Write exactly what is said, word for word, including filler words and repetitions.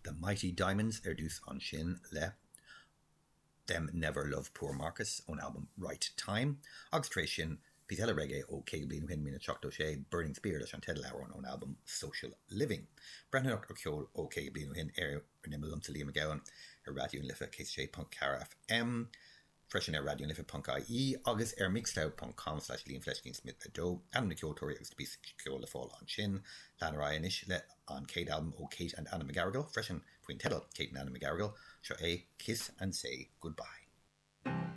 The Mighty Diamonds ar dtús ansin le Them Never Love Poor Marcus ón albam Right Time, agus tar éis sin píosa eile reggae ó caoga bliain ó shin míle seachtó sé Burning Spear leis an teideal ón albam Social Living. Breathnóireacht ar cheol ó caoga bliain ó shin ar an imeall liomsa Liam Mac Gabhann ar Raidió na Life céad sé ponc ceathair FM. Freisin ar raidionalife.ie agus ar mixcloud.com slash Liam Fleiscín Smith a dó ainm na ceoltóirí agus bí ceol le fáil ansin lean ar aghaidh anois le an chéad albam ó Kate and Anna McGarrigle freisin faoin teideal Kate and Anna McGarrigle seo é Kiss and Say Goodbye.